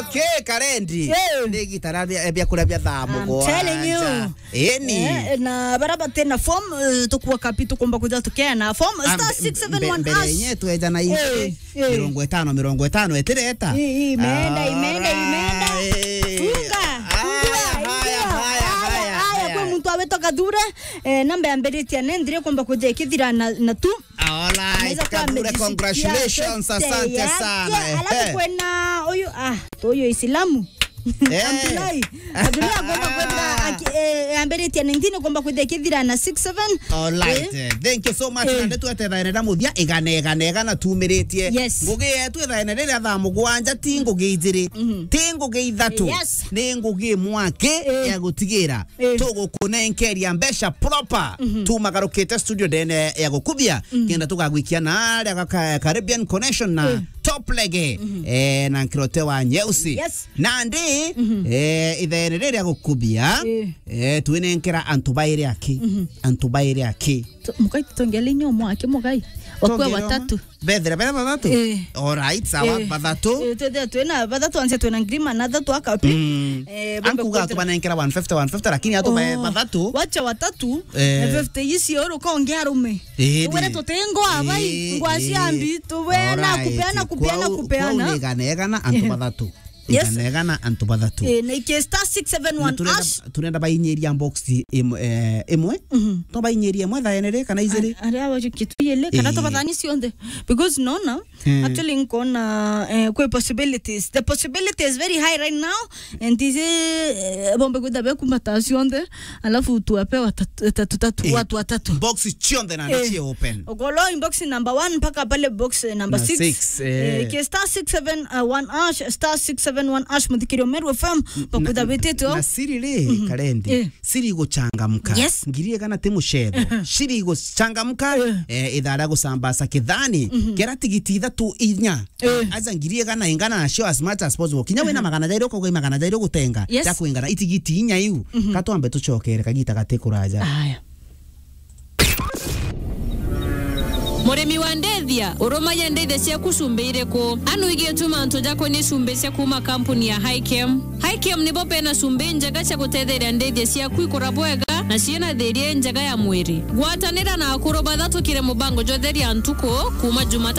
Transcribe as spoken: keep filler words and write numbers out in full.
Okay, Karendi. Eh. Ni igita ria bia, bia kuria bia thaa I'm mugwanja. Telling you. Eni. Eh, na bara bati na form, eh, tukua kapi tukumba kuja tukeana form. Ah, star mbe-, six seven one mbe-, mbere hash. Yenye tweja na ici. Eh, eh. Mirongo itano, mirongo itano, etireta. I-, i-, imeenda, imeenda, imeenda. Alright. Funga, haya, fungua, haya, ingia. Haya, haya, haya, haya, haya. Kwi muntu awitwa Gathure, eh, namba yambiritie ni nthiri kumba kuja ikithira na, na tu. Alright, anaweza kuwa Gathure, amejishikia congratulations, pete asante yake, sana, ehe. Alafu kwina uyu, ah, to uyu Isilamu. Eh. Abdullahi. Abdullahi agomba kwithira aki-, eh, ambiritie na ntini agomba kwithira ikithira na six seven. Alright, eh. Eh, thank you so much. Eh. Na ndetu ethe thaene na muthia, igana, igana, igana tumiritie. Yes. Ngugi yetu ethaene riria thaa mugwanja, ti ngugi ijiri, mhm, ti ngugi ithatu. Yes. Ni ngugi imwe aki, eh, ya gutigira, eh, tugukunenkeria mbeca proper. Mhm. Tumagarukite studio ndene ya gukubia, mhm, kenda tugagwikia na aria ga ka-, Caribbean Connection na, eh, Top Lege, mhm, eh, na nkirote wa nyeusi. Yes. Nandi, mhm, eh, ithaene riria gukubia, eh, eh, twinenkera antu bairi aki. Mhm. Antu bairi aki. Tu-, mukai tutongele inyo mwaki mukai. Wakua tongere batatu. Bethira bera bathatu? Eh. Alright, sawa, eh, bathatu. Eh, twethira twina bathatu, anse twina ngirima na thatu akapi. Mm. Eh, bombe ankuga kwethira atubanenkera one fifty, one fifty, lakini atubae, oh, bathatu. Wacha watatu, eh, na fifty isi oro konge arume. Eh, tubere di-, tutengo abai, eh, ngwa cia, eh, mbi, tubena, alright, kupeana, kupeana, kwau, kupeana. Kwau ni igana, igana, antu, eh, bathatu. Yes. Igana, igana, antu bathatu. Eh, na iki star six seven one hash. Turenda, turenda bainyiria box imwe, eh, imwe. Mhm. To bainyiria imwe thaene ri kana ijiri? Ari, ari awa kituyele, kana, eh, tubathani cionthe. Because nona, eh, actually nkona, eh, kwi possibilities. The possibility is very high right now. And isi, eh, bombe kwitha bekumbata cionthe. Alafu tuwape watatu, tatu, tatu, eh, watu watatu. Box cionthe na, eh, ni cie open. Okolo in box number one mpaka pale box, eh, number six. Na six, eh. Eh, ke star six seven one hash, star six seven one hash, muthikirio Meru F M, na, bakutha bititwo. Na siri ri, mhm, Karendi, eh, siri guchangamka. Yes. Ngiri igana ti mucetho. Siri guchangamka, eh, eh, ithaa ria gucambasa kithani, mhm, kera tigiti ithatu inya. Eh. Aja ngiri igana ingana nacio as much as possible. Kinya wina, aha, magana jairi ukauga i magana jairi ugutenga. Yes. Ja kwingana itigiti inya iu. Mhm. Katwambe tucokere kagita gati kuraja. Aya. Murimi wa ndithia, urumagia ndithia ciaku cumbi iriku? Anu igie tu mantu jakonie cumbi cia kuuma kampuni ya Hikem. Hikem nibo bena cumbi njega cia gutetheria ndithia ciaku ikura bwega na ciina thiria injega ya mwiri. Gwatanira na akuru bathatukire mubango jwa Theria Ntuku kuuma Jumatatu